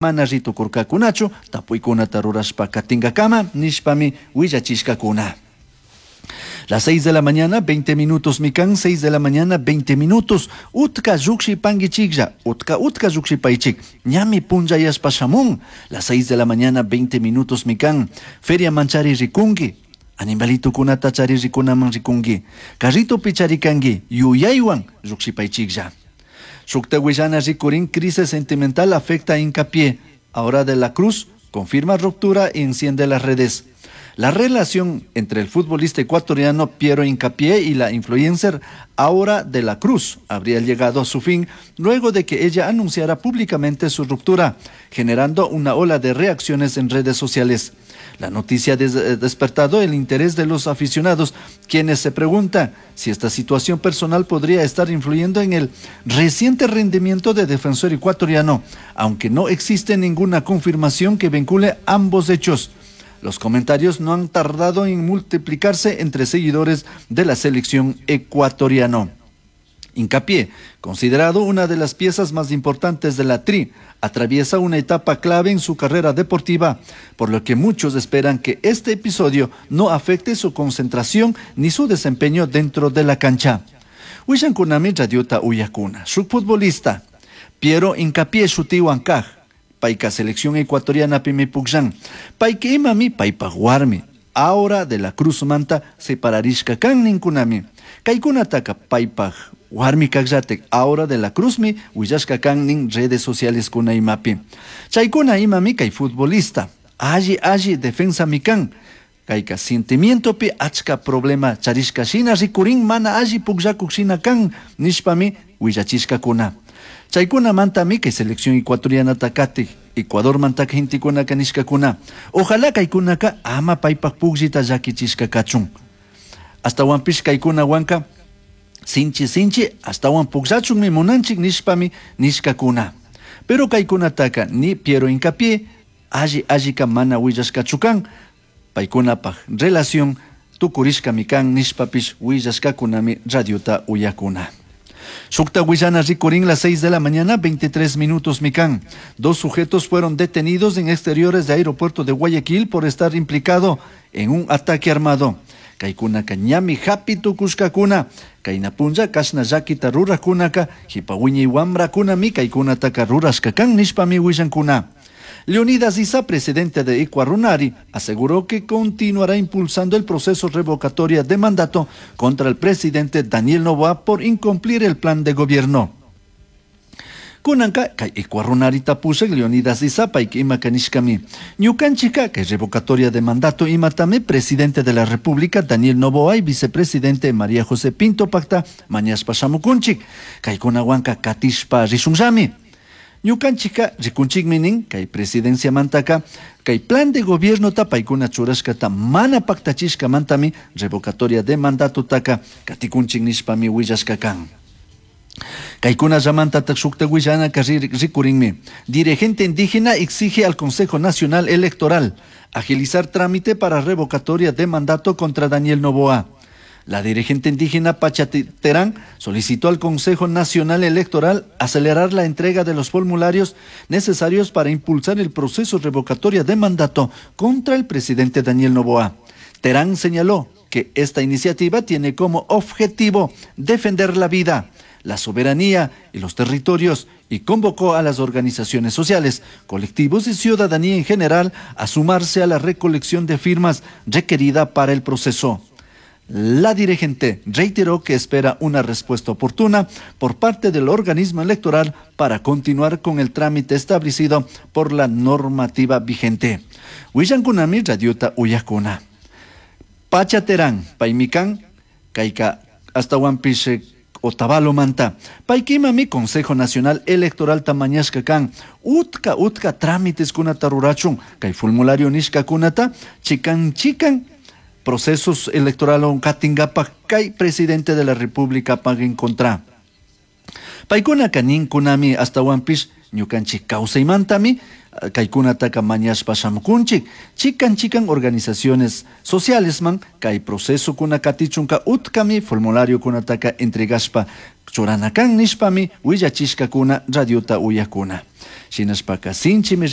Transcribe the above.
Mana ri tucurcacunachu, tapuicunata rurashpa catingacama nishpami huillachishcacuna. Las 6 de la mañana, 20 minutos, mican, 6 de la mañana, 20 minutos. Utca llujshipanguichijlla, utca utca llujshipaichik. Ñami punllayashpa shamun. Las 6 de la mañana, 20 minutos, mican. Feria manchari ricungui. Animalitucunata chari ricunaman ricungui. Carritopi charicangui. Yuyaihuan llujshipaichijlla. Shukta huillana ricurin, crisis sentimental afecta a Hincapié. Ahora de la Cruz confirma ruptura y enciende las redes. La relación entre el futbolista ecuatoriano Piero Hincapié y la influencer Aura de la Cruz habría llegado a su fin luego de que ella anunciara públicamente su ruptura, generando una ola de reacciones en redes sociales. La noticia ha despertado el interés de los aficionados, quienes se preguntan si esta situación personal podría estar influyendo en el reciente rendimiento de defensor ecuatoriano, aunque no existe ninguna confirmación que vincule ambos hechos. Los comentarios no han tardado en multiplicarse entre seguidores de la selección ecuatoriana. Hincapié, considerado una de las piezas más importantes de la Tri, atraviesa una etapa clave en su carrera deportiva, por lo que muchos esperan que este episodio no afecte su concentración ni su desempeño dentro de la cancha. Huillankunami radiota uyakuna. Shuk futbolista, Piero Hincapié shutihuan kaj, payka selección ecuatoriana pimi pukllan. Payka imami paypaj warmi. Aura de la Cruz manta separarishka kan ninkunami. Kaykunataka paypaj warmi kajllatik Aura de la Cruzmi willashka kan nin redes sociales kuna imapi. Chaykuna imami kay futbolista. Alli alli defensa mi kan. Kayka sentimientopi achka problema charishka shina rikurin mana alli pukllakuk shina kan nishpami willachishkakuna. Chaykunamantami kay selección ecuatorianata katik, Ecuador mantaka gentekunaka nishkakuna. Ojalá kaykunaka ama paypak pukllita llakichishka kachun. Ashtawanpish kaykunawanka sinchi sinchi ashtawan pukllachunmi munanchik nishpami nishkakuna. Pero kaykunataka ni Piero Hincapié alli allika mana willashkachu kan, paykunapaj relación tukurishkami kan nishpapish willashkakunami radiota uyakuna. Shukta huillana rikurin las 6 de la mañana, 23 minutos mican. Dos sujetos fueron detenidos en exteriores de aeropuerto de Guayaquil por estar implicado en un ataque armado. Kaykunaka ñami hapi tukushkakuna, kayna punlla kashna llakita rurajkunaka, jipa wiñay wamrakunami kaykunataka rurashka kan nishpami willankuna. Leonidas Iza, presidente de Ecuarunari, aseguró que continuará impulsando el proceso revocatoria de mandato contra el presidente Daniel Noboa por incumplir el plan de gobierno. Kunanka, kay Ecuarunari tapushak Leonidas Iza, payka ima kanishkami. Ñukanchika, kay revocatoria de mandato imatami, presidente de la República Daniel Noboa y vicepresidente María José Pinto pakta mañashpa shamukunchik. Kaykunawanka katishpa rishunllami. Ñukanchika rikunchikmi nin kay presidencia mantaka kay plan de gobierno ta paykuna churashkata mana paktachishkamantami revocatoria de mandato taka katikunchik nishpami willashka kan. Kaykunallamantatak shukta willanaka rikurinmi. Dirigente indígena exige al Consejo Nacional Electoral agilizar trámite para revocatoria de mandato contra Daniel Noboa. La dirigente indígena Pacha Terán solicitó al Consejo Nacional Electoral acelerar la entrega de los formularios necesarios para impulsar el proceso revocatoria de mandato contra el presidente Daniel Noboa. Terán señaló que esta iniciativa tiene como objetivo defender la vida, la soberanía y los territorios y convocó a las organizaciones sociales, colectivos y ciudadanía en general a sumarse a la recolección de firmas requerida para el proceso. La dirigente reiteró que espera una respuesta oportuna por parte del organismo electoral para continuar con el trámite establecido por la normativa vigente. Willankunami radiota uyakuna. Pacha Terán, paymikan, kayka ashtawanpish Otavalo manta. Paykimami Consejo Nacional Electoral tamañashka kan. Utka, utka trámites kunata rurachun. Kay formulario nishka kunata, chikan, chikan procesos electoral on katingapak kay presidente de la República paguen contra. Paykuna kanin kunami ashtawanpish ñukanchik kawsaymantami. Caicunataca mañashpa shamucunchij. Chican chican organizaciones socialesman cai procesocuna catichunca utcami formulariocunataca entregashpa churana can nishpami huillachishcacuna radiota uyajcuna. Shinashpaca sinchimi.